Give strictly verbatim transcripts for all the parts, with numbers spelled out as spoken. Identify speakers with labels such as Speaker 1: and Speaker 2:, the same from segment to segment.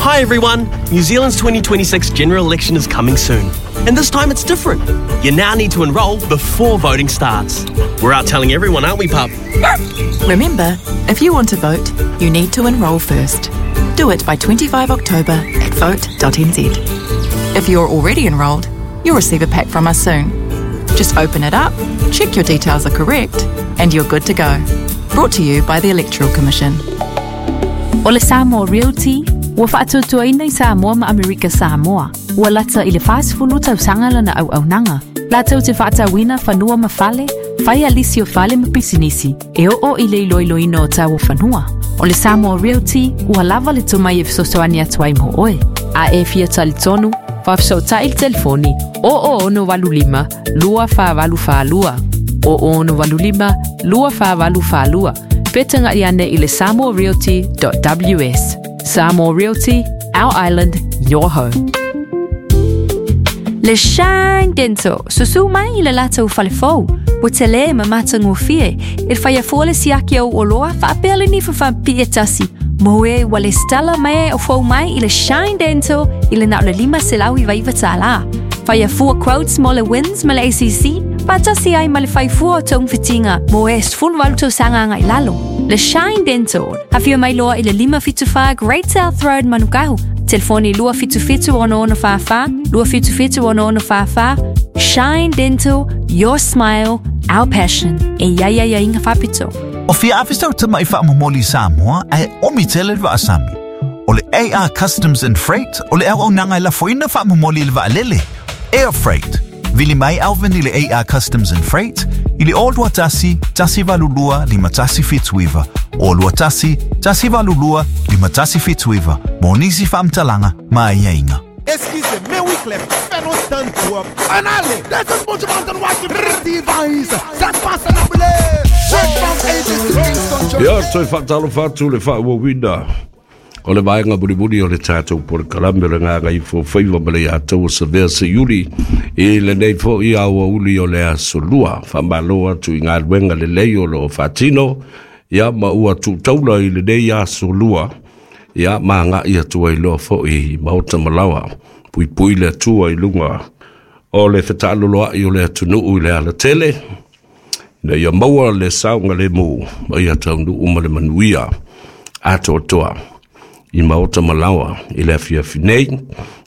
Speaker 1: Hi everyone! New Zealand's twenty twenty-six general election is coming soon. And this time it's different. You now need to enrol before voting starts. We're out telling everyone, aren't we, pup?
Speaker 2: Remember, if you want to vote, you need to enrol first. Do it by twenty-fifth October at vote dot n z. If you're already enrolled, you'll receive a pack from us soon. Just open it up, check your details are correct, and you're good to go. Brought to you by the Electoral Commission.
Speaker 3: O le Samoa Realty, ua faatuatuaina i Samoa ma Amerika Samoa. Ua lata i le whasifulu tausaga lana auaunaga. Latou te faatauina fanua ma fale, fai alisi o fale ma pisinisi, e oo i le iloiloina o tau o fanua. O le Samoa Realty, ua lava le tomai e fesoasoani atu ai mo oe. A e fia talitonu, faafesootai le telefoni, o o ono walu lima, lua wha walu wha lua. O o ono walu lima, lua wha walu wha lua. Petanga iane i le samoa realty dot w s. Samoa Realty, our island, your home.
Speaker 4: Le Shine Dental, susu mai i le latou falefou. Ua tele ma matagofie, e whaia fua le siaki au oloa whaapea le nifa whaapia tasi. Moe ua le stala mai o fau mai i le Shine Dental i le nao le lima selau i vaiva tālā. Whaia fua quotes mo le wins ma le A C C, whaatasi ai ma le whaifua o taumfitinga, moe sfulu walu tausaga ngai lalo. Le Shine Dental, hawhia mai loa i le lima fitu wha Great South Road Manukau. Telefoni lua fitu fitu ono ono wha wha, lua fitu fitu ono ono wha wha. Shine Dental, your smile, our passion. E ia ia ia inga whapito.
Speaker 5: O fia awhistau te mai whaamomoli Samoa e omi tele wa asami. O le A R Customs and Freight, o le au au nanga la foina whaamomoli le vaalele. Air Freight. Vili mai alvin i le A R Customs and Freight, i le o lua tasi, tasi valulua, lima tasi fituiva. O lua tasi, tasi valulua, lima tasi fituiva. Mo nisi whaamtalanga, ma ia inga.
Speaker 6: Excusez, mais oui, Clem, fais nos stand up. En allez, this is Buju Banton watching device. Ça se passe en anglais.
Speaker 7: Ia, toi whaatalo whaatu le whaawawina. O le vaenga mulimuli o le tātou polokalame o le ngā ngai fōwhaiwa ma le iātou o Savea se iuli i le nei fo i aua uli o le aso lua. Whamalo atu i ngā luenga le lei o lo o whātino. Ia ma ua tūtaula i le nei aso lua. Ia ma ngā ia tua i loa fo i maota malawa. Pui pui le atua i lunga o le whetaaloloa i o le atunuu i le alatele. Ina ia maua le saunga le mū ma ia taunuu ma le manuia atoatoa i maota malawa i le afiafi nei.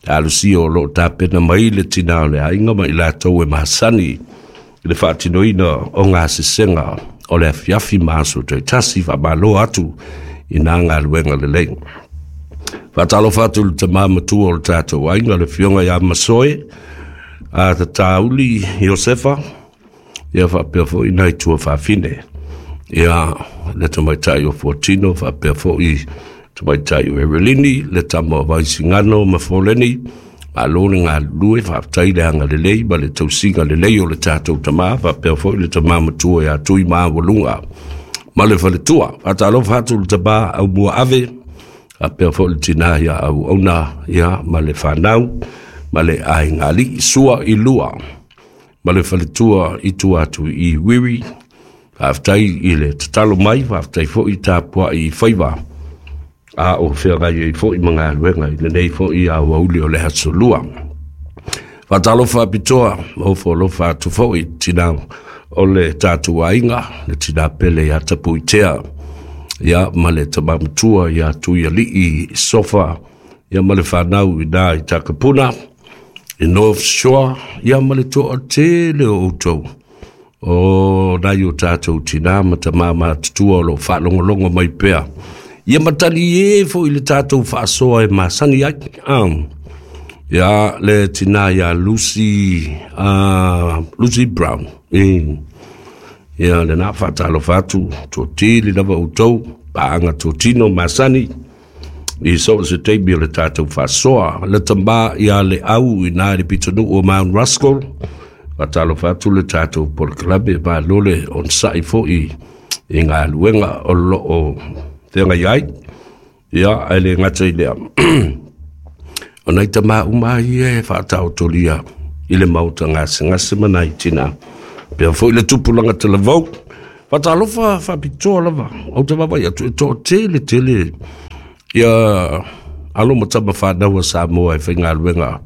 Speaker 7: Alusia o loo tāpena mai le tina o le ainga ma i lātou e mahasani i le whaatinoina o ngā sesenga o le afiafi maaso toi tasi whamalo atu i nā ngā luenga le lei. Whaatalo whaatu le tamā matua o le tātou ainga le fionga ia masoe a te tāuli Iosefa ia whaapea fo i nai tua whaafine. Ia le tamaitai o Fortino whaapea fo i tamaitai o Erelini le tama o Vaisingano ma Foleni ma lone ngā lue whaaptai le anga le lei ma le tausinga le lei o le tātou tamā whaapea fo i le tamā matua ia tui maa walunga. Ma le whaletua, whaatalo whaatu le tamā au mua ave, a pea fo le tina ia au auna ia ma le whanau, ma le aingali sua i lua. Ma le whaletua i tua atu i wiri, whaaftai i le tatalo mai, whaaftai fo i tāpua i whaiwa. A o whiangai i fo i mga luenga i le nei fo i a wauli o le hasolua. Whaatalo whaapitoa, o whaalofa atu fo i tina o le tātou ainga, le tina pele ia tapu i tea, ia ma le tamamatua ia tui alii sofa, ia ma le whanau i nā i Takapuna, i North Shore, ia ma le toa tele o outou. O nai o tātou tina ma tamama tutua o lo whaalongolongo mai pea. Ia matali e fo i le tātou whaasoa e masani ai. Um, ia le tina ia Lucy, uh, Lucy Brown. E, ia le nā whaatalo whaatu, tō tili lava outou, paanga tō tino masani. I so se teimi o le tātou whaasoa. Le tamba ia le au i nā le pitanu o Mount Ruskell. Whaatalo whaatu le tātou polokalame ma lole on sai fo i, i ngā luenga o lo o te iai. Ia, ai le ngata i lea. O nei tamā uma i e whaatao tolia i le mauta ngase ngase mana i tina. Pea fo i le tupulanga te lavau. Whaatalofa whapitoa lava. Au te wawa ia tu e tō tele tele. Ia Alo ma tama whanau a Samoa e whaingaluenga.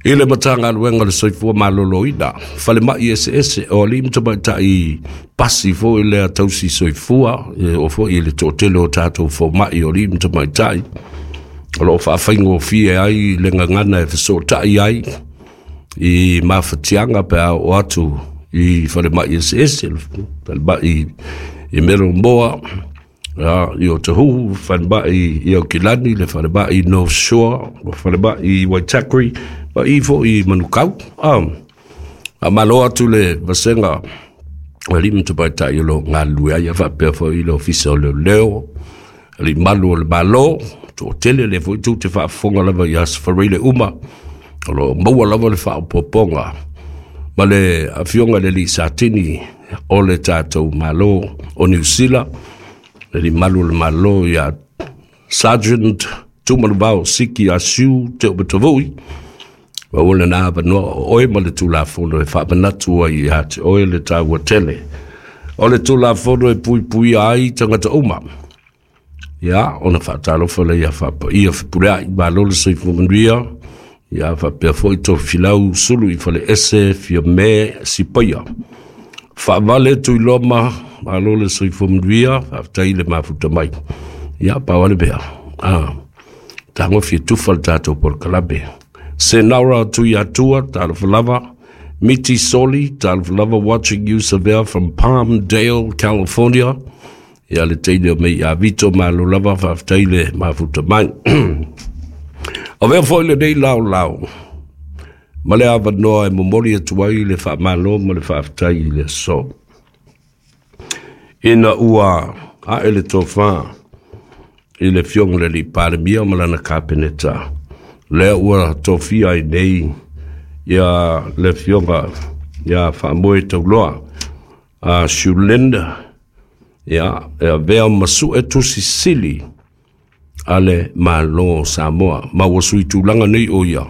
Speaker 7: I le matagaluega o le soifua malōlōina, fale mai ese ese, o alii ma tamaitai pasi foi lea tausi soifua, e o foi i le toatele o tatou foma'i o alii ma tamaitai, o loo faafaigofie ai le gagana e fesootai ai i mafatiaga pe a oo atu i falemai eseese, falemai i Melomoa, i Otahuhu, falemai i Aukilani, le falemai i North Shore, falemai i Waitakere, ma i foi i Manukau. A malo atu le vasega o alii ma tamaitai o loo galulue ai, faapea foi i le ofisa o leoleo, alii malu o le Malo, toatele le foi tou te faafofoga lava i aso Faraile uma, o loo maua lava le faaopoopoga ma le afioga i le alii Satini o le tatou Malo o Niu Sila, le alii malu o le Malo ia Sergeant Tumanuvao Siki Asiu Te Umatavui. Ma ua lena avanoa o oe ma le Tulafono e faamanatu ai ia te oe le taua tele o le Tulafono e puipuia ai tagata uma. Ia, ona faatalofa lea ia faapaia fepuleai, malo le soifua manuia, ia faapea foi Tofilau Sulu i Faleese Fiame Sipaia. Faavale Tuiloma, malo le soifua manuia, faafetai le mafuta mai. Ia, pau ale mea. Ah, tagofi e tufa le tatou polokalame. Senara Tuiatua, talofa lava. Miti Soli, talofa lava, watching you Savea from Palmdale, California. Ia le teine o mei a Vito, malo lava, faafetai le mafuta mai. O vea foi lenei lao lao ma le avanoa e momoli atu ai le faamalo ma le faafetai i le aso, ina ua ae le tofā i le afioga i le alii Palemia ma lana kapeneta, lea ua tofia ai nei ia le afioga ia Faamoe Tauloa a Shulinda, ia e avea ma sue tusi sili a le Malo o Samoa, ma ua sui tulaga nei o ia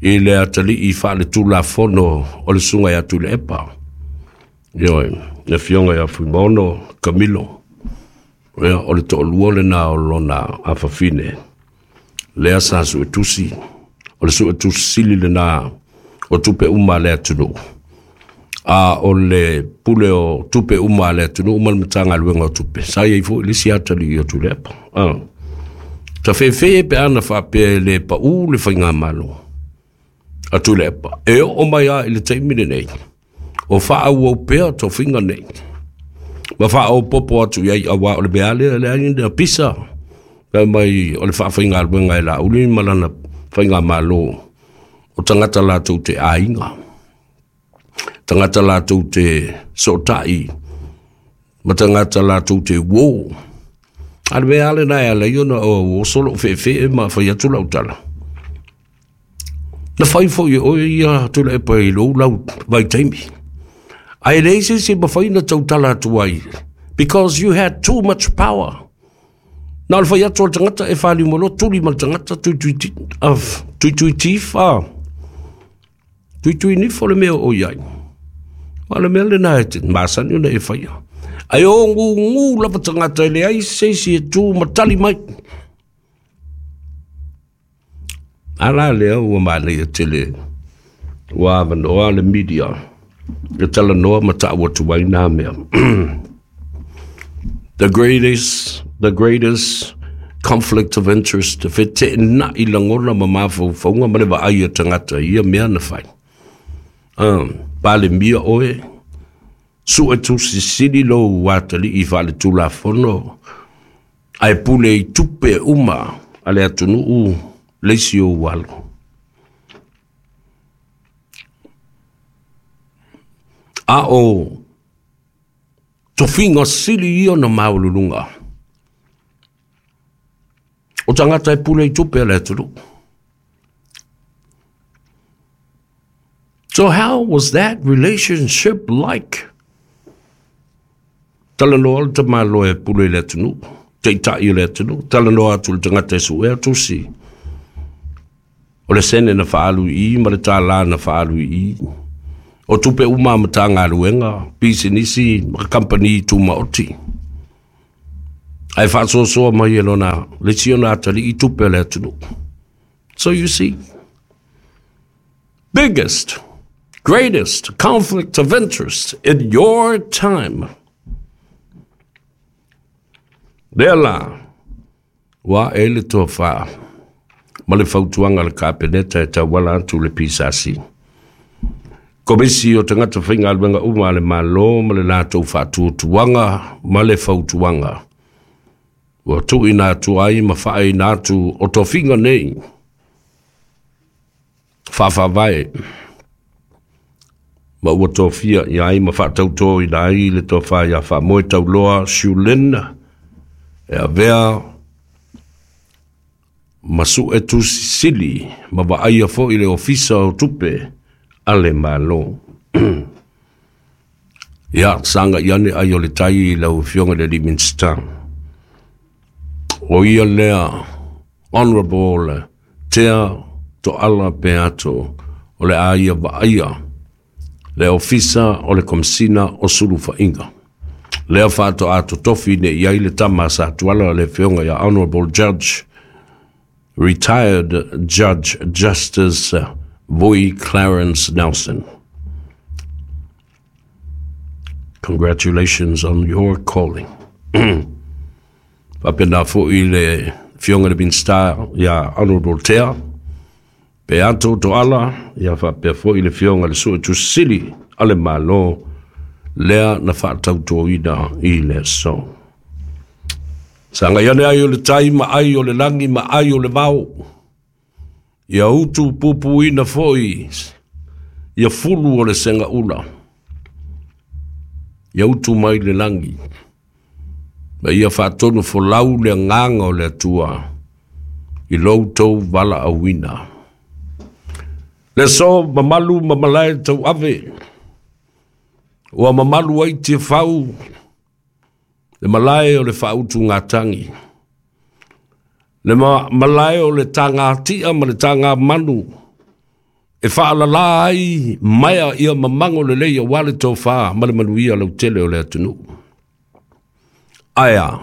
Speaker 7: i le atalii faaletulafono o le susuga ia Tuilaepa. Ioe, le afioga ia Fuimaono Camilo, ia o le toalua lena o lona afafine lea sa suetusi, o le suetusi sili lena o tupe uma a le atunuu, a o le pule o tupe uma a le atunuu ma le Matagaluega o Tupe, sa iai foi le isi atalii o Tuilaepa. Ah. Tafefe pe ana faapea e le paū le faigamalo a Tuilaepa, e oo mai a i le taimi lenei, o faaauau pea tofiga nei, ma faaopoopo atu i ai, auā o le mea lea leai na pisa, fai mai o le faafaigaluega e Laauli ma lana faigamalo, o tagata latou te aiga, tagata latou te sootai, ma tagata latou te uō. A le mea lena e ala ai ona o oso lou feefee ma fai atu lau tala. Na fai foi e oe ia Tuilaepa i lou lau vaitaimi, ae leai se isi e mafai ona tautala atu ai, because you had too much power. Na o le fai atu o le tagata e faliu mai loa tuli ma le tagata tuitui tuitui tifa tuitui nifo le mea o i ai. O le mea lena e te masani ona e faia. Ae o gugu lava tagata e leai se isi e tu ma tali mai. A la lea ua manaia tele ua avanoa le media e talanoa ma ta'u atu ai nā mea. The greatest, the greatest conflict of interest, feteena'i lagona ma mafaufauga ma le vaai a tagata i ia mea na fai. Um, Palemia oe, sue tusi sili lou atalii faaletulafono, ae pule i tupe uma a le atunuu le isi ou alo. A o tofiga sili ia na maualuluga o tagata e pule i tupe a le atunuu. So how was that relationship like? Talanoa le tamaloa e pule i le atunuu, taitai o le atunuu, talanoa atu le tagata e suea tusi. O le sene na faalu i i ma le tālā na faalu i i. O tupe uma a Matagaluega, pisinisi ma kamupani tumaoti. Ai faasoasoa mai e lona le isi ona atalii tupe a le atunuu. So you see, biggest, greatest conflict of interest in your time. Lea la, ua ae le tofa ma le fautuaga a le Kapeneta e tauala atu le P S A C. Komisi o tagata faigaluega uma a le Malo ma le latou faatuatuaga ma le fautuaga. Ua tuuina atu ai ma faaina atu o tofiga nei faafaavae ma ua tofia ia ai ma faatautoina ai le tofa ia Faamoe Tauloa Shulin e avea ma sue tusisili ma vaaia foi le ofisa o tupe a le Malo. Ia, saga i ane ai o le tai i lau afioga i le alii Minisita. O ia lea Honorable Tea Toala Peato o le a ia vaaia le ofisa o le Komisina o Sulufa'iga. Lea faatoa totofi ne i ai le tama a Satuala le afioga ia Honorable Judge, Retired Judge Justice Vui Clarence Nelson. Congratulations on your calling. Faapena fo'i le afioga i le Minisita ia Honorable Tea Peato Toala, ia faapea fo'i le afioga i le Suetusili a le Malo lea na faatautoina i le aso. Saga i ane ai o le tai ma ai o le lagi ma ai o le vao. Ia utu pupuina fo'i ia fulu o le segaula. Ia utu mai le lagi. Ma ia faatonu folau le agaga o le Atua i lou tou valaauina. Le aso mamalu ma malae tauave. Ua mamalu ai Tiafau le malae o le faautugatagi. Le malae o le tagatia ma le tagamanu e faalalā ai maea ia mamago lelei auā le tofā ma le manuia lautele o le atunuu. Ae a,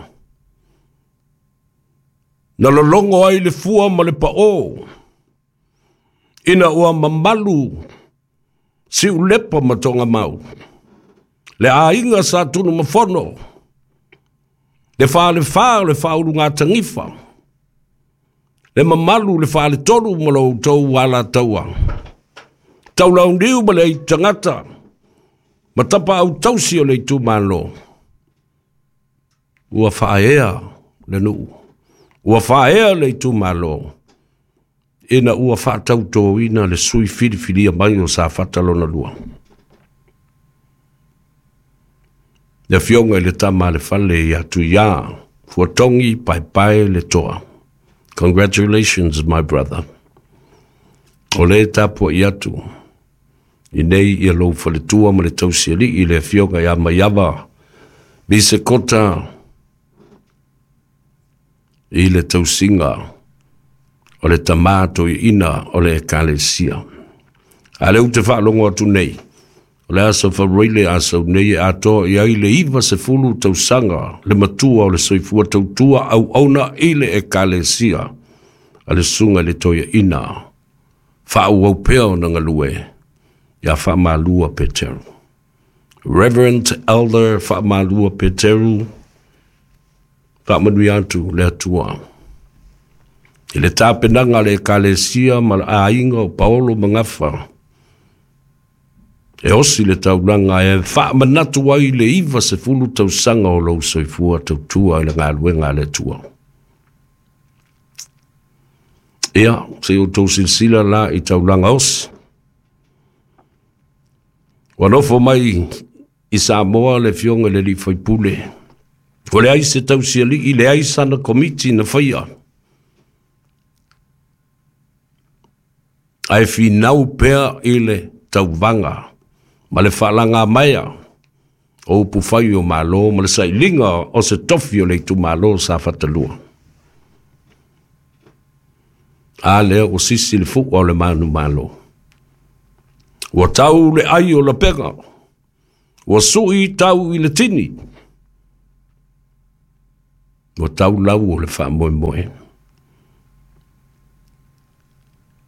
Speaker 7: na lologo ai le fua ma le paʻō ina ua mamalu siulepa ma togamau. Le aiga sa Tunumafono, le falefā o le faaulugatagifa, le mamalu le faletolu ma lo outou alataua. Taulauniu ma le aitagata, ma tapa autausi o le itumalo. Ua faaea le nuu, ua faaea le itumalo, ina ua faatautoina le sui filifilia mai o Safata lona lua. Le afioga i le tama a le fale ia Tuiā, Fuatogi Paepae le Toa. Congratulations, my brother. O le tapua'i atu i nei ia lou faletua ma le tausiali'i le afioga ia Maiava Bisekota i le tausiga o le tamā toeaina o le ekalesia. A lea ou te faalogo atu nei, o le aso Faruaile asau nei e atoa i ai le iva sefulu tausaga le matua o le soifua tautua auauna i le ekalesia a le susuga i le toeaina faaauau pea ona galue ia Faamalua Peteru. Reverend Elder Faamalua Peteru, faamanuia atu le Atua. I le tapenaga a le ekalesia ma le aiga o Paolo Magafa, e osi le taulaga e faamanatu ai le iva sefulu tausaga o lou soifua tautua i le galuega a le Atua. Ia, se outou silasila la i taulaga osi. Ua nofo mai i Samoa le afioga i le alii faipule. Ua leai se tausialii, leai sana komiti na faia. Ae finau pea i le tauvaga ma le faalaga maea o upufai o Malo ma le sailiga o se tofi o le itumalo Safata lua. A lea ua sisi le fu'a o le manumalo. Ua tau le ai o lapega, ua su'i tau i le tini. Ua tau lau o le faamoemoe.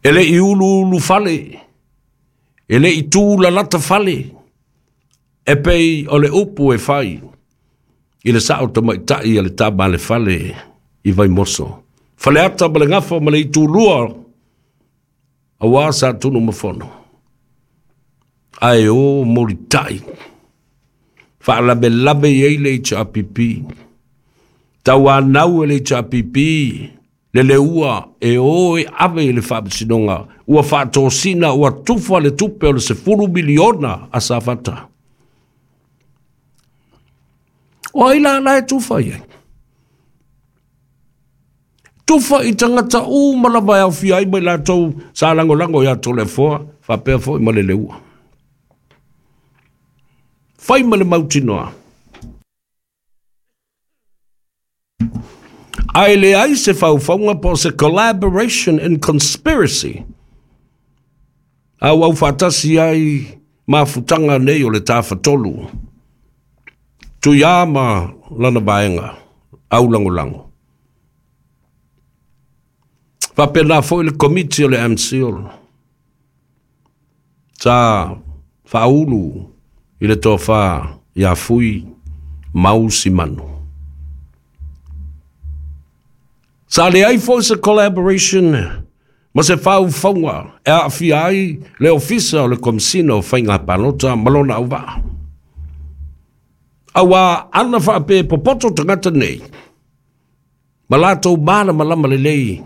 Speaker 7: E le i uluulu fale, e le i tū lalata fale, e pei o le upu e fai, i le sao tamaitai a le tama le fale i Vaimoso. Faleata ma le gafa ma le itulua, auā sa Tunumafono. Ae o molitai, faalavelave i ai le H R P P. Tauanau e le H R P P, le leua e o e ave i le faamasinoga, ua faatosina, ua tufa le tupe o le sefulu miliona a Safata. O ai la la e tufa i ai? Tufa i tagata uma lava e aofia ai mai latou sa lagolago ia Toleafoa, faapea foi ma le leua. Fai ma le mautinoa. Ae leai se faufauga po o se collaboration and conspiracy. Au au faatasi ai mafutaga nei o le tafatolu. Tuiā ma lana vaega, au lagolago. Faapena foi le komiti o le M C O L. Sa faaulu i le tofa ia Fui Mau Simanu. Sa leai foi se collaboration ma se faufauga e aafia ai le ofisa o le Komesina o Faiga Palota ma lona auvaa. Auā ana faapea popoto tagata nei, ma latou malamalama lelei,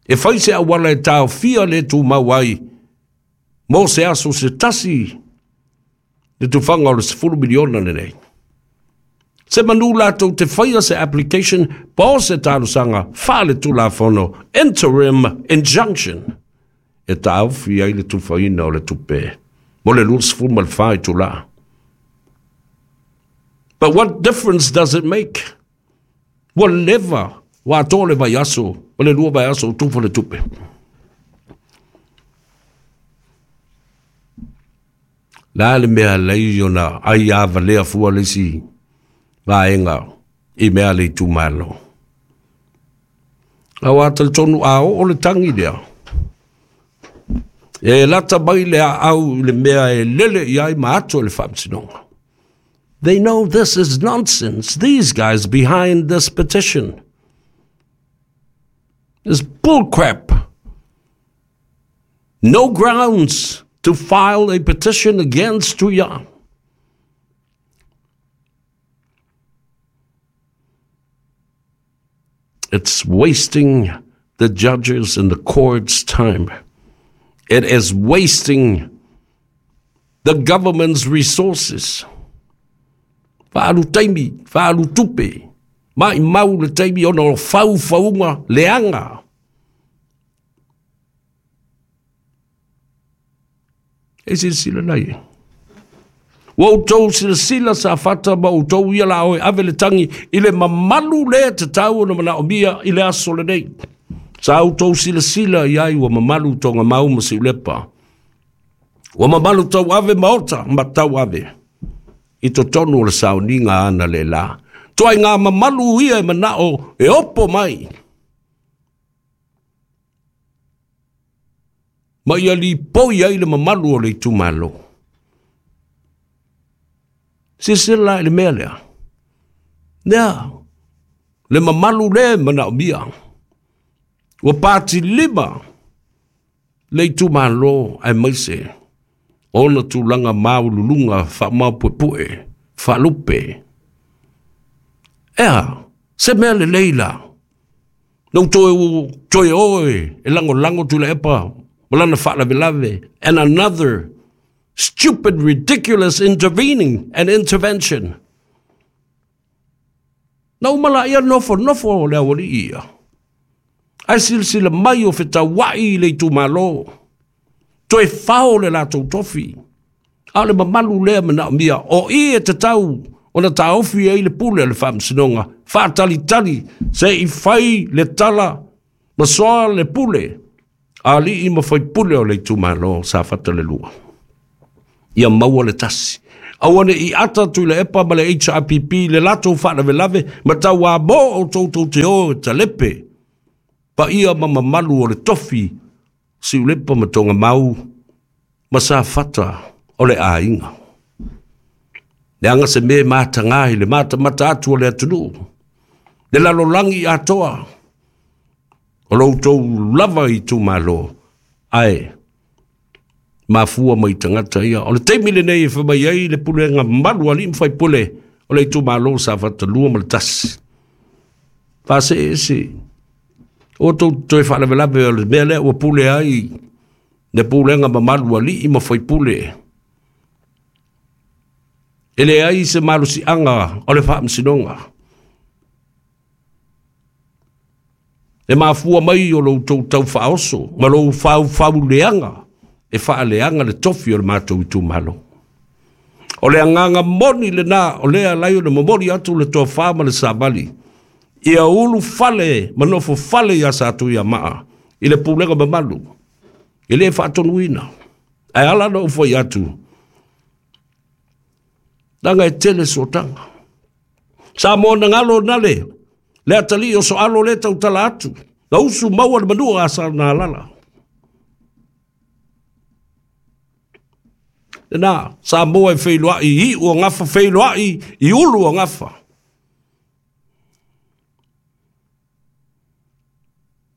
Speaker 7: e fai se auala e taofia le tumau ai mo se aso se tasi le tufaga o le sefulu miliona lenei. Se manu latou te faia se application po o se talosaga faale-tulafono interim injunction e taofi ai le tufaina o le tupe mo le luasefulu ma le fa itulā. But what difference does it make? Ua leva ua atoa le vaiaso ma le lua vaiaso o tufa le tupe. La le mea lei ona ai a valea fua le isi vaega i mea le itumalo. Auā talitonu a oo le tangi lea. E lata mai le aau i le mea e lele i ai ma ato le faamasinoga. They know this is nonsense. These guys behind this petition is bullcrap. No grounds to file a petition against Tuia. It's wasting the judges and the court's time. It is wasting the government's resources. Faalu taimi, faalu tupe, mai mau le taimi ona o faufauga leaga. E silasila nei. Ua outou silasila Safata ma outou ia la oe ave le tangi i le mamalu lea tatau ona manaomia i le aso lenei. Sa outou silasila i ai ua mamalu Togamau ma Siulepa. Ua mamalu tau ave maota ma tau ave. I totonu o le sauniga ana le la. Toai ngā mamalu ia e manao e opo mai. Ma ia lipoi ai le mamalu o le itumalo. Silasila i le mea lea. Lea, le mamalu le manaomia. Ua pati lima le itumalo aemaise ona tulaga maululuga faamaopuepue, faalupe. Ea, se mea lelei la. Na toe toe oe e lagolago Tuilaepa ma lana faalavelave. And another stupid, ridiculous intervening and intervention. Na uma laia nofonofo le aualii ia. Ae silasila mai o fetauai i le itumalo. Toe fao le latou tofi. A o le mamalu lea manaomia. O i e tatau ona taofi ai le pule o le faamasinoga. Faatalitali se i fai le tala ma soa le pule. Alii ma faipule o le itumalo Safata le lua. Ia maua le tasi. Aua ne i ata tu le epa ma le H R P P le lato whaalavelave ma tau a mō o tautou te o e talepe. Pa ia ma mamalu o le tofi si ulepa ma tonga mau ma sa fata o le āinga. Le anga se me mātangahi le mata mata atu o le atunu. Le lalolangi atoa o loutou lava i tūmalo. Ae, mafua mai tangata ia. O le teimi lenei e whamai ai le pulenga malu ali mwhai pule o le itumalo sa whatalua ma le tasi. Whase e se. O tau toe whaalavelave o le mea lea ua pule ai le pulenga mamalu ali i mwhai pule. E le ai se malusi anga o le whaamsinonga. E mafua mai o lou tau tau whaoso ma lou whau whau leanga e whaaleanga le tofi o le mātou i tūmalo. O le anganga moni le nā, o lea lai o le momori atu le toa wha ma le sāvali. Ia ulu fale, manofo fale ia sātou ia maa, i le pūlega mamalu, i le whaatonuina. Ai ala na ufoi atu, nanga e tele sotanga. Sa mōna ngalo nale, le atali o so alo le tautala atu, na usu maua le manua a sa nā lala. Nā, sa moa e wheiloai i ua ngafa, wheiloai i ulu o ngafa.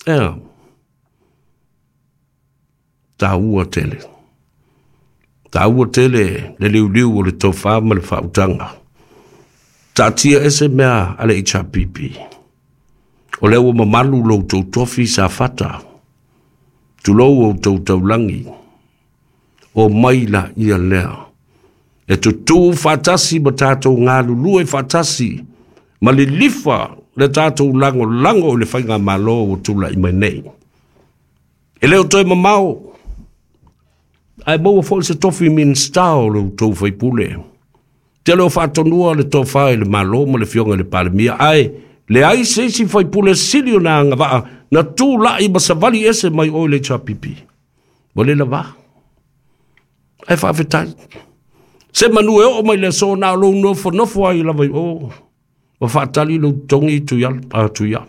Speaker 7: Ea, tā ua tele. Tā ua tele le liu liu o le tauwha ma le whautanga. Tā tia ese mea ale H R P P. O leo mamalu lou tautofi sa fata. Tulou o tautaulangi. O maila ia lea. E tutu whatasi ma tātou ngā lulue whatasi. Ma le lifa le tātou lango lango o le whainga malo o tula i mai nei. E leo toi mamao. Ai maua fo se tofi minsta o le tau whaipule. Te leo whaatonua le tōwha i le malo ma le fionga le palemia. Ai, le ai se isi whaipule sili o nā ngawaa na tū lai ma savali ese mai oi le H R P P. Mo le lava. Ai whaafetai. Se manu e o mai le so nā lou nofo nofo ai lava i o. Ma whaatali lou tongi tu ia, a tu ia.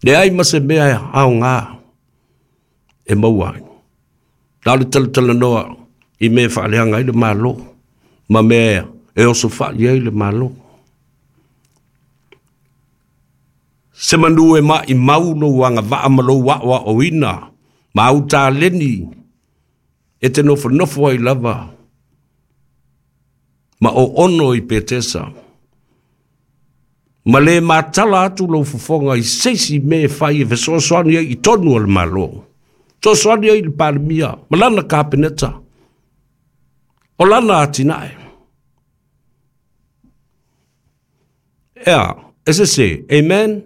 Speaker 7: Le ai ma se mea ao ngā e maua ai. Nā le talatala noa i me whaaleanga ai le malo. Ma mea e oso whaali ai le malo. Se manu e ma i mau no wanga waa ma lou waa o ina. Ma au tā leni e te nofo nofo ai lava. Ma o ono i Petesa. Ma le mātala atu lau fofonga i seisi me whai e fesoasoani ai i tonu o le malo. Soasoani ai le palemia. Ma lana kapeneta. O lana atinae. Ea, S S C, amen.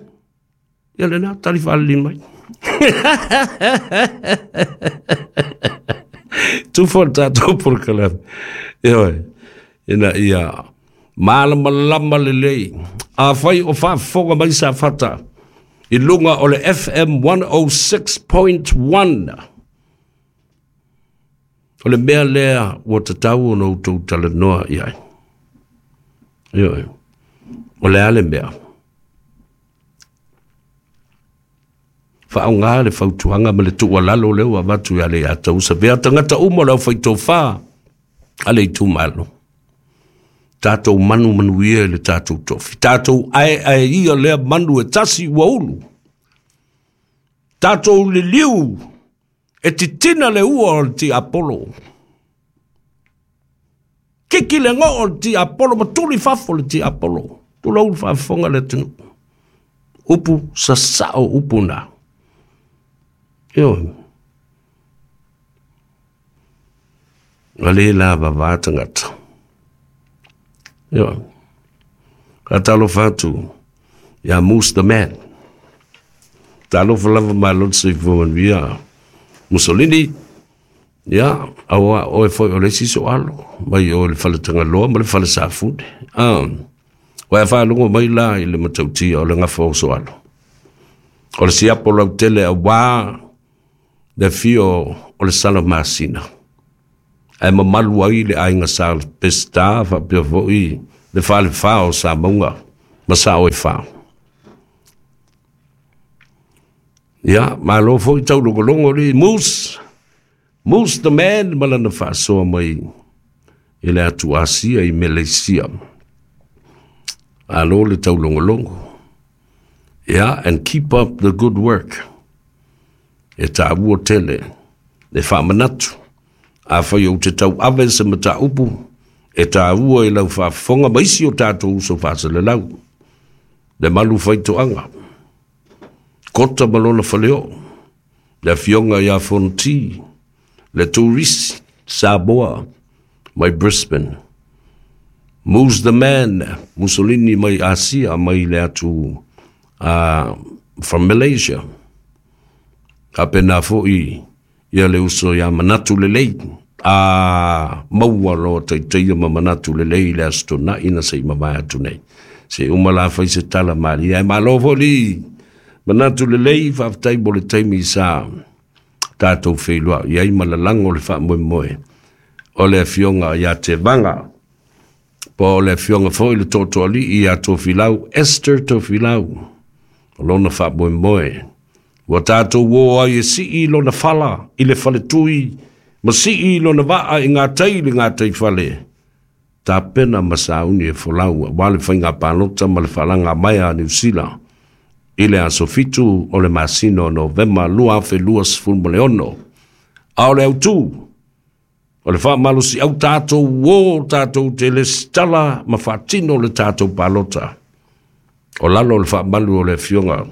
Speaker 7: Ia le nā, tari whalili mai. Tū fo tātou porokalame. Ia ina ia malamalama lelei. A whai o whaafonga mai sa fata. I lunga o le F M one oh six point one. O le mea lea ua tatau o no tau talanoa i ai. Ia o le ale mea. Whaonga le whautuanga ma le tuualalo leo a watu i ale a tau sa vea tangata umo lau whaitofā ale i tūmalo. Tātou manu manu ia le tātou tofi. Tātou ae ae ia lea manu e tasi ua ulu. Tātou le liu e titina le ua o le ti Apollo. Kiki le ngoo o le ti Apollo, ma tuli fafo le ti Apollo. Tula ulu whaafonga le tunu. Upu sasao upu nā. Io. Ale la vava tangata. Io. Ka talo fatu. Ya Moose the man. Talo falava malo se fo Mussolini. Ya, awa o e foi o le siso alo. Mai o le fale tangaloa ma le fale safune. Um, wa e whaalungo mai la i le matautia o le ngafa o so alo. O le siapo lau tele a wā le fio o le sala masina. Ae mamalu ai le aiga sa Peseta faapea foʻi le falefā o Samauga ma sao e fā. Ia, malo foʻi taulogologo le Moose, Moose the man ma lana faasoa mai i le atu Asia i Malaysia. Alo le taulogologo. Yeah, and keep up the good work. E tāua tele, le whaamanatu. A whai o te tau ave se mata upu, e tāua i lau whaafonga maisi o tātou uso whaasele lau. Le malu whaitoanga. Kota malona whaleo. Le fionga ia fonti. Le tourist Samoa mai Brisbane. Moose the man, Mussolini mai Asia, mai le atu uh, from Malaysia. Ka pena fo'i ia le uso ia manatu lelei. A maua loa taitaia ma manatu lelei le aso tona'i na se'i mavae atu nei. Se uma la fai se tala malie. Ae malo fo'i manatu lelei faafetai mo le taimi sa tatou feiloai ai ma lalago le faamoemoe o le afioga ia Tevaga. Po o le afioga foi le toatoalii ia Tofilau, Esther Tofilau, o lona faamoemoe. Ua tatou o ai e sii lona fala i le faletui, ma sii lona vaa i ngā tai le ngā tai fale. Tapena ma sauni e folau, wa le whainga palota ma le whalanga mai a New Zealand. I le aso fitu o le masino Novema lua afe lua sefulu ma le ono. A o le autū, o le faamalosi au tātou o tātou te lesitala ma faatino le tātou palota. O lalo o le faamalu o le afioga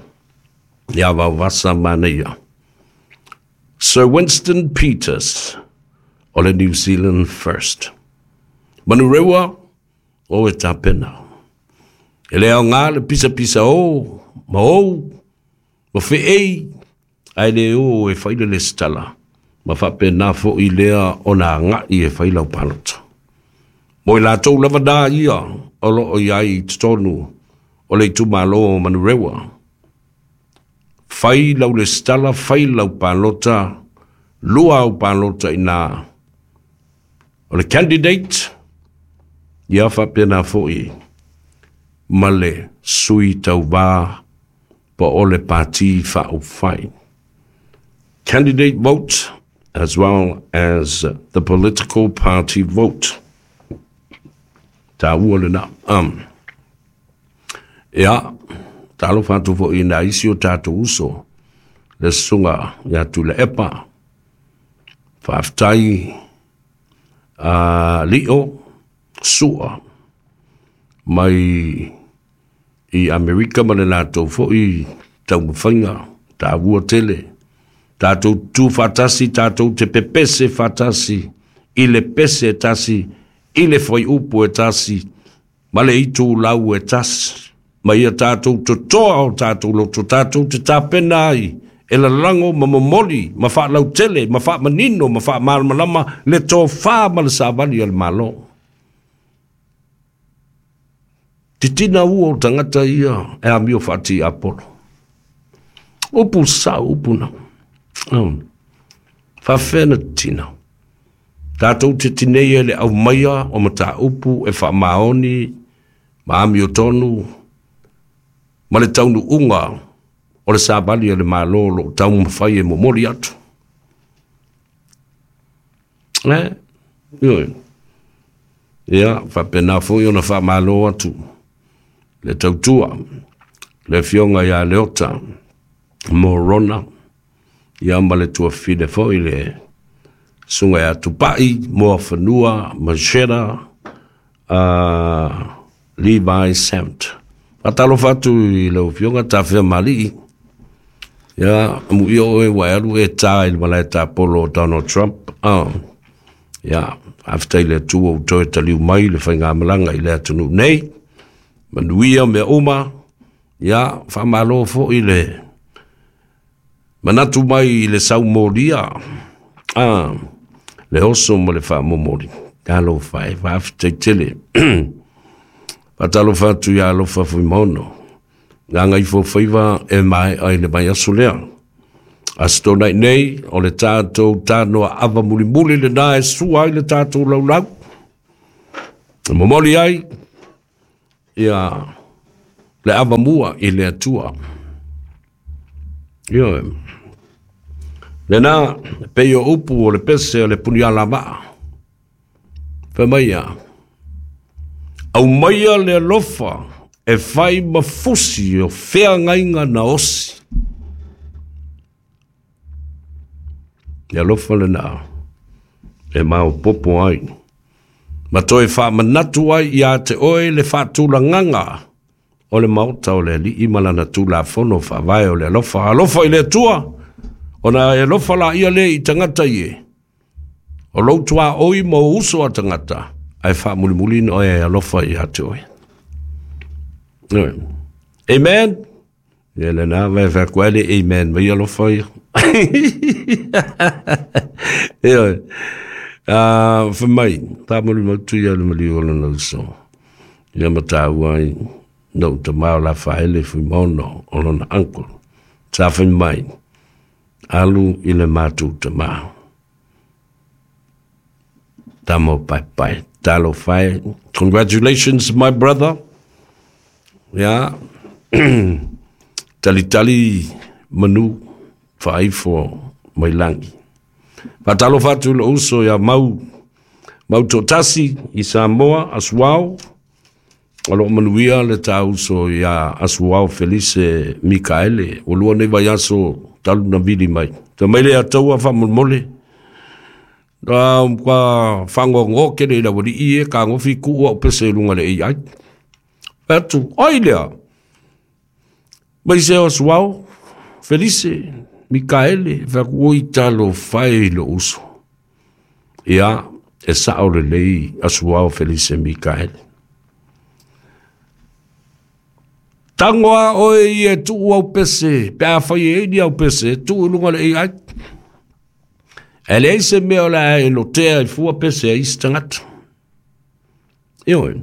Speaker 7: ia Vaovasa Manaia. Sir Winston Peters o le New Zealand First. Manurewa o e tapena. E le aoga le pisapisa o, ma ou, ma feei, ae le o e fai le lesitala. Ma faapena foʻi lea ona agaʻi e fai lau palota. Mo i latou lava na ia o loo iai i totonu o le itumālō o Manurewa. Fai lau lesitala, fai lau palota, lua au palota inā. O le candidate, ia faapena foʻi ma le sui tauvā po o le pati faaupufai. Candidate vote as well as the political party vote. Tāua lena. Um, ia, talofa atu foʻi i nā isi o tatou uso, le susuga ia Tuilaepa. Faafetai uh, Lio Sua mai i Amerika ma le latou foʻi taumafaiga, tāua tele. Tātou tu whatasi, tātou te pepese whatasi, i le pese e tasi, i le whai upu e tasi, ma le itu lau e tasi. Ma ia tātou totoa o tātou loto, tātou te tāpena ai, e lalago ma momoli, ma faalautele, ma faamanino, ma faamalamalama, le tofā ma le savali o le Malo. Titina ua o tagata ia e amio faati Apolo. Upu sa upu na. Um, faafena tina. Tātou te tinei e le aumaia o mataupu e faamaoni, ma amio tonu, ma le taunuuga o le savali o le Malo o loo taumafai e momoli atu. E, ioe. Ia, faapena foʻi ona faamālō atu le tautua, le afioga ia Leota Morona, ia ma le tuafine foʻi le suga ia Tupaʻi, Moafanua, Machera, uh, Levi Samt. Faatalofa atu i lau afioga Tafea Malii. Ia, muia oe ua e alu e tā i le malae tapolo o Donald Trump. Oh. Ia, faafetai le Atua ua toe taliu mai le faigamalaga i le atunuu nei. Manuia mea uma. Ia, faamālō foʻi le manatu mai i le saumolia. Ah, le oso ma le faamomoli. Talofa e, faafetai tele. Faatalofa atu ia Alofa Fuimaono. Gagaifo faiva e mae'a i le vaiaso lea. Aso tonai nei o le tātou tānoa ava mulimuli le nā e sua ai le tātou laulau. E momoli ai ia le ava mua i le Atua. Ioe. Le nā pei o upu o le pese o le puni ala maa. Fai mai ia. Au maia le alofa e fai mafusi o feagaiga na osi. Le alofa lenā e maopopo ai. Ma toe faamanatu ai ia te oe le faatulagaga o le maota o le Alii ma lana Tulafono faavae o le alofa. Alofa i le Atua, ona e alofa laia le i tagata ie. O lou tuaoi ma o uso a tagata, ae faamulimuli na oe e alofa ia te oe. Amen. Ia lenā vai faaku ai le amen mai alofa ia. Ioe. Ah, fai mai, tāmoli mautu ia le maliu o lona uso. Ia ma tāua ai, no ta mao la faele fui maono o lona uncle. Sa fai mai, alu i le mātou tamā. Tamo pai pai, talo fai. Congratulations, my brother. Yeah. Tali tali manu faaifo mai langi. Fatalo fatu le uso ia mau mau totasi i Samoa Asuao. O loo manuia le tāuso ia Asuao Felice Mikaele. O lua nei vai aso talu na vili mai. Ta mai le ataua whamolmole. Ka whangongo kere i la wali i e ka ngofi kuua o pese lunga le A I. Atu, ai lea. Mai se Asuao Felice Mikaele whakui talo whai lo uso. Ia, e sao le lei Asuao Felice Mikaele. Tangoa oe i e tuu au pese, pe a whai e ni au pese, tuu lunga le A I. E le eise mea o le a e lotea i fua pese a isi tangata. Ioe,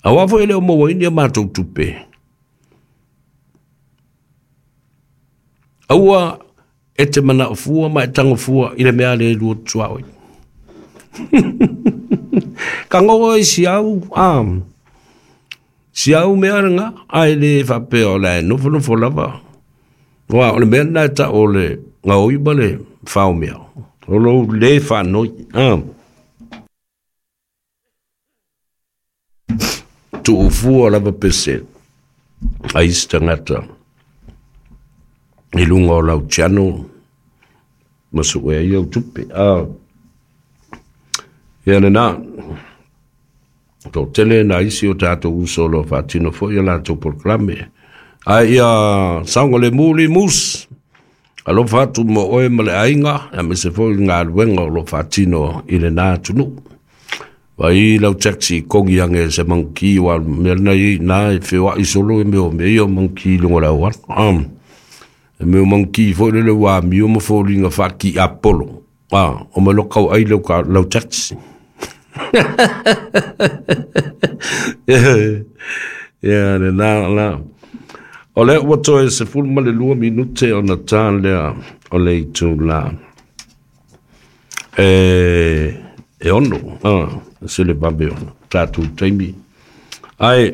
Speaker 7: a wafo ele o maua ini a mātou tupe. Aua e te mana o fua ma e tango fua i le mea le lua tua oi. Ka ngoa i si au, am. Si au mea nga, ai le whapea o le nofo nofo lava. Wa, o le mea nai ta o le ngā oi ma le whao mea. O lo le whanoi. Am. Tuu fua lava pese. A isi tangata. I lunga o lau channel. Masu ea i au tupe. Ah. Ia le nā. Tō tele nā isi o tātou uso lo whātino fo ia lātou programe. Ai ia saunga le muli mus. Alofa atu mo oe ma le ainga. A me se fo i ngā luenga o lo whātino i le nā tunu. Vai lau taxi kongi ange se manki wa mea nei nā e whiwa i solo e meo me ia manki lunga lau wana. Um, e meo manki fo le le wā mio ma fo linga whaki Apollo. Ah, o me lokau ai lau, ka, lau taxi. Ia, le nā, nā. O le ua toe se fulu ma le lua minute o na tā lea o le itu la. E, e ono, ah, se le babe ono, tātou taimi. Ai,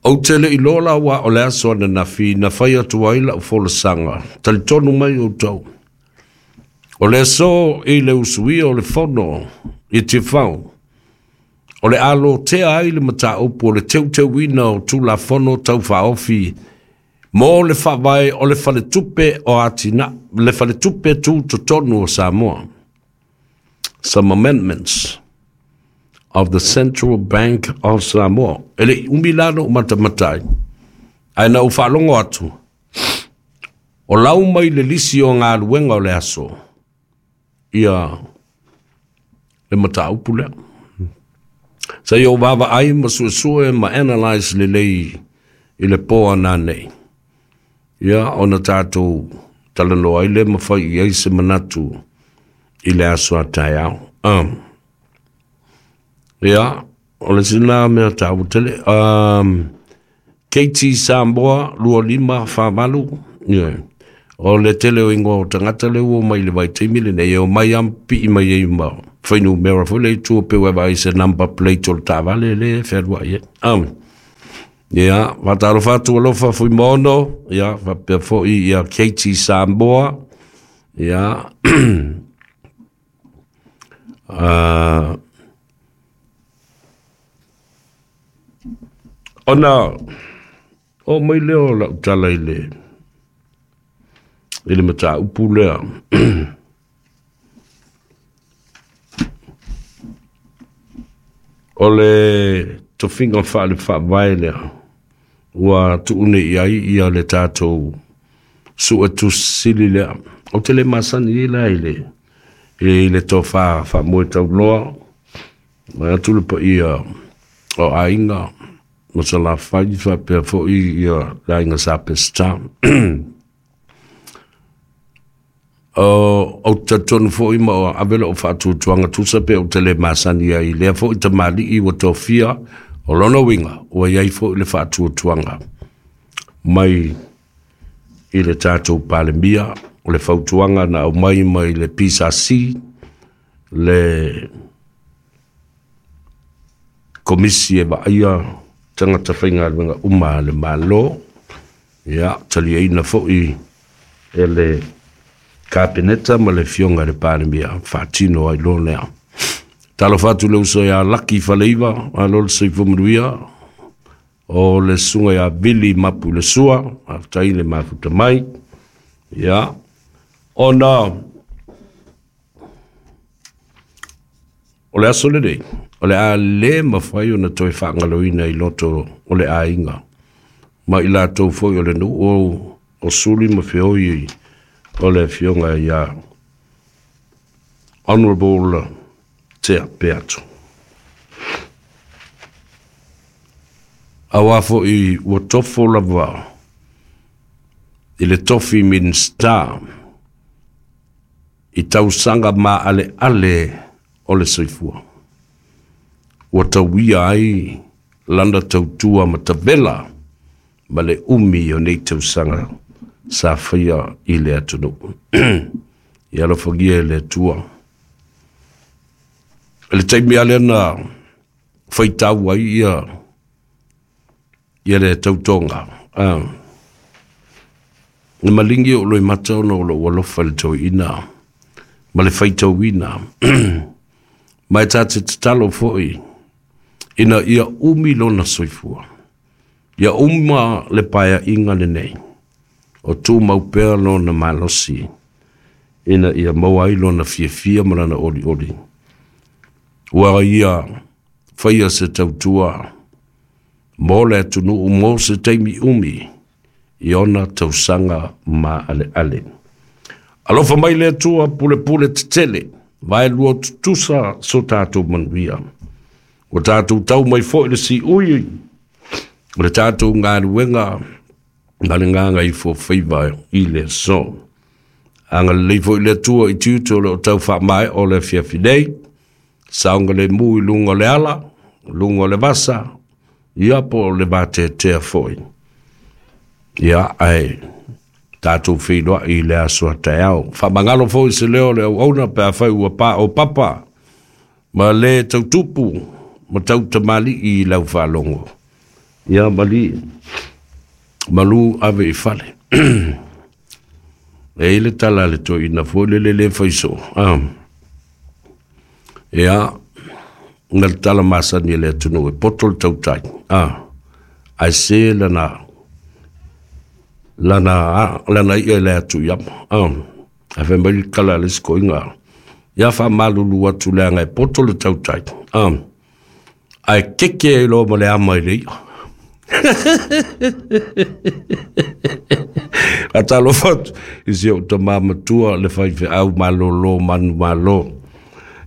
Speaker 7: o tele i lola wa o le aso ana na fi, na whai atu ai la o folasanga. Talitonu mai o tau. O le aso i le usuia o le fono i te whau. O le alo tea ai le mataupu o le teuteuina o Tulafono tau whaofi mō le whawai o le whaletupe o Atina, le whaletupe tū totonu o Samoa. Some amendments of the Central Bank of Samoa. E le umilano matamatai. Ai na u whalongo atu. O lau mai le lisi o ngā luenga o le aso. Ia le mataupu lea. Sa i o wawa ai ma suesue ma analyze le lei i le poa nā nei. Ia ona tātou talanoa ai le mawhai i ai se manatu i le aso a tai au. Um, ia, o le sina mea tāu tele. Um, K T Samoa, lua lima whavalu, Ia. O le tele o ingoa o tagata le ua mai le vaitaimi lenei, e omai lava ma pipii mai ai ma fuainumera foi lea i tua pe ua e vaai i se number plate o le taavale lea e fealuai ai. Ah. Ia, faatalofa atu alofa Fuimaono, ia, faapea foi ia Katie Samoa, ia, uh, ona o mai lea o lau tala i le i le mataupu lea. O le tofiga faale faavae lea ua tuune i ai ia le tatou suetusi sili lea. Ou te le masani ai la i le i le tofa faamoe tauloa mai atu le paia o aiga ma Salafai faapea foi ia le aiga Sa Peseta. O ou te talitonu foi ma o ave lou faatuatuaga tusa pe ou te le masani ai i lea foi tamalii ua tofia o lona uiga ua i ai foi le faatuatuaga mai i le tatou Palemia o le fautuaga na aumai mai le P S A C le komisi e vaaia tagata faigaluega uma a le Malo, ia taliaina foi e le Kapeneta ma le afioga i le Palemia faatino ai loa lea. Talofa atu le uso ia Laki Faleiva, malo le soifua manuia, o le susuga ia Vili Mapu le Sua, faafetai le mafuta mai. Ia, ona o le aso lenei, o le a le mafai ona toe faagaloina i loto o le aiga, ma i latou foi o le nuu o, o Suli ma Feoi o le afioga ia Honorable Tea Peato. Auā foi ua tofo lava i le tofi Minista i tausaga maaleale o le soifua. Ua tauia ai lana tautua matavela ma le umi o nei tausaga sa faia i le atunuu. Ia alofagia e le Atua. I le taimi lea na faitau ai ia ia le tautoga. Ah. Na malingi o loi mata ona o lou alofa i le toeaina ma le faitauina. Ma e ta te tatalo foi ina ia umi lona soifua. Ia uma le paeaiga lenei o tumau pea lona malosi ina ia maua ai lona fiafia ma lana olioli. Ua ia faia se tautua mo le atunuu mo se taimi umi i ona tausaga maaleale. Alofa mai le Atua pulepule tetele, vaelua tutusa so tatou manuia. Ua tatou tau mai foi le siui o le tatou galuega ma le gagaifofaiva i le aso. Agalelei foi le Atua i tiute o loo tau faamaea o le afiafi nei, saogalemu i luga o le ala, luga o le vasa, ia po o le vateatea foi. Ia ae tatou feiloai i le aso a taeao. Faamagalo foi se leo o le auauna pe afai ua pa o papa ma le tautupu ma tautamalii i lau faalogo. Ia mali malu ave i fale. E i le tala le toeaina foi le le le faiso. Ah. Ia, na le tala masani e le atunuu e poto le tautai. Ah. Ae se lana lana lana ia i le atu i ama. Ah. Ae fai mai le tala a le isi koiga. Ia faamalulu atu leaga e poto le tautai. Ah. Ae keke ai loa ma le ama i le ia. Faatalofa atu i si ou tamā matua le faifeau malōlō manu malo.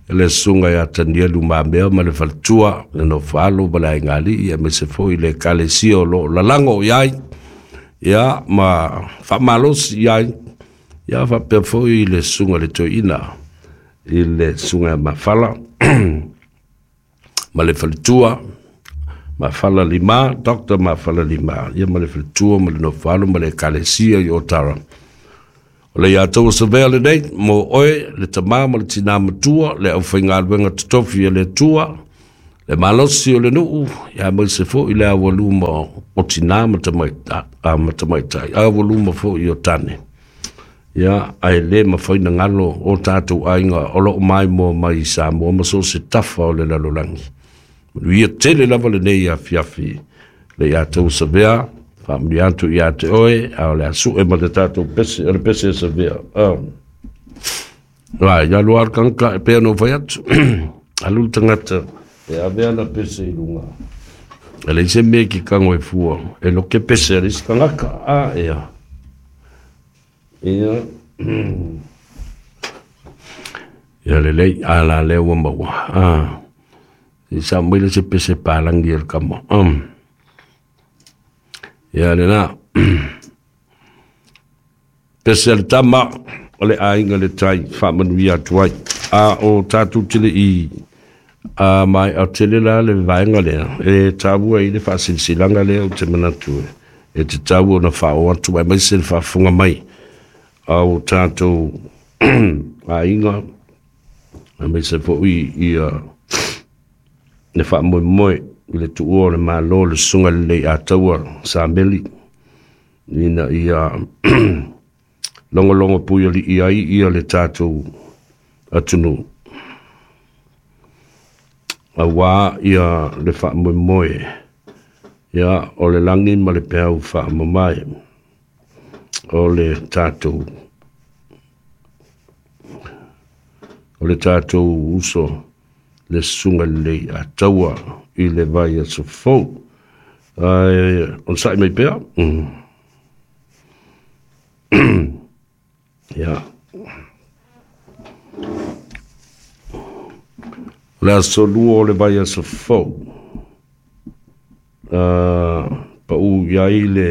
Speaker 7: Le susuga ia Tanielu Mamea ma le faletua, le nofoalo ma le aigalii, aemaise foi le ekalesia o loo lalago i ai, ia ma faamalosi i ai, ia faapea foi le susuga i le toeaina i le susuga ia Mafala ma le faletua Mafala Lima, Doctor Mafala Lima, ia ma le faletua ma le nofalo ma le ekalesia i Otara. O le ia tou Savea lenei, mo oe, le tamā ma le tinā matua, le aufaigaluega totofi e le Atua, le malosi o le nuu, ia aemaise foʻi le aualuma o tinā ma tamaitai, aualuma foʻi o tane. Ia ae lē mafaina galo o tatou aiga o loo maimoa mai i Samoa ma so o se tafa o le lalolagi. Manuia tele lava lenei afiafi le ia tou Savea, faamanuia atu ia te oe, a o le asuʻe ma le tatou pese o le pese e Savea. Ai ia lua le e pea no fai atu alu le tagata e ave ana pese i luga e leai se mea ki kago e fua e loke pese a le isi tagaka a ea ia ia lelei a la lea ua maua a i sa mai le se pese palangi e le kama um. Ia lena pese a le tama o le aiga le tai faamanuia atu ai a o tatou tele i a mai a tele la le vaega lea e taua i le faasilasilaga lea o te manatu e te taua ona faaoo atu aemaise le faafofoga mai a o tatou aiga aemaise foʻi ia le faamoemoe i le tuua o le Malo le susuga lelei ataua Sameli ina ia logologo pui alii ai ia le tatou atunuu auā ia le faamoemoe ia o le lagi ma le peau faamamae o le tatou o le tatou uso le susuga lelei ataua i le vai aso fou ae onosai mai pea. Ia o le aso lua o le vai aso fou paʻu iai le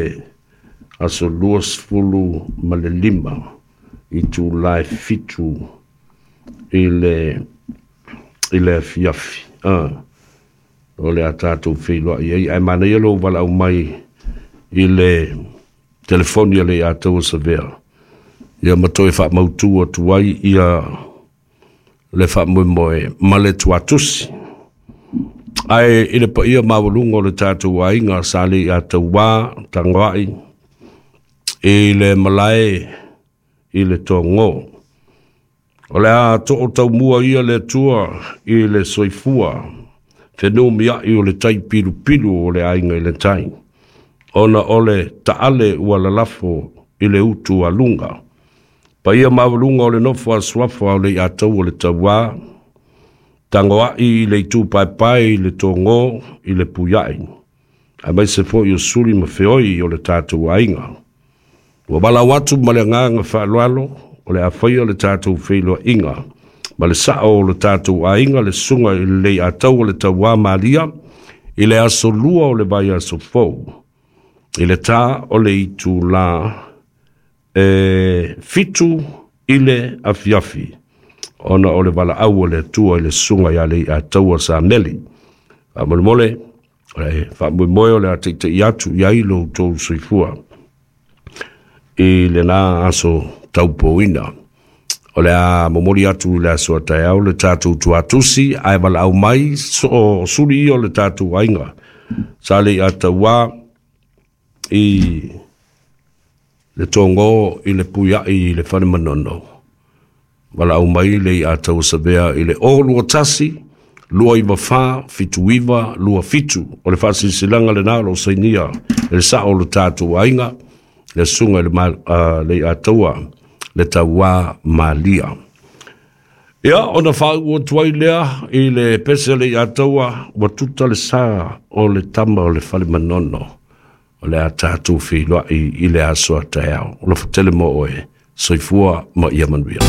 Speaker 7: aso luasefulu ma le lima i tulae fitu i le i le afiafi o le a tatou feiloai ai ae manaia lou valaau mai i le telefoni a le ia tou Savea ia ma toe faamautū atu ai ia le faamoemoe ma le tuatusi ae i le paia maualuga o le tatou aiga sa le ia tauā tagoai i le malae i le togō. O le a too taumua ia le Atua i le soifua fenumiaʻi o le tai pilupilu o le aiga i le tai ona o le taale ua lalafo i le utu aluga paia maualuga o le nofo a suafa o le ia tau o le tauā tagoai i le itu paepae i le togō i le puiaʻi aemaise foʻi o suli ma feoi o le tatou aiga. Ua valaau atu ma le agaga faaaloalo o le afaia o le tatou feiloaiga ma le saʻo o le tatou aiga le susuga i le leiatau o le tauā Malia i le aso lua o le vai aso fou i le tā o le itulā e fitu i le afiafi ona o le valaau o le Atua i le susuga ia Leiataua Sameli. Faamolemole o le faamoemoe o le a taitaʻi atu i ai lo outou soifua i lena aso taupouina. O le a momoli atu i le aso taeao le tatou tuatusi ae valaau mai o suli ia o le tatou aiga sa Leiatauā i le togō i le puiaʻi i le fale manono. Valaau mai le ia tou Savea i le o lua tasi lua iva fā fitu iva lua fitu o le faasilasilaga lenā o loo sainia e le saʻo o le tatou aiga le susuga i le ia taua le tauā Malia. Ia ona faauu atu ai lea i le pese le ia taua ua tuta le sā o le tama o le fale manono o le a tatou feiloai i le aso a taeao. O le fatele mo oe, soifua ma ia manuia.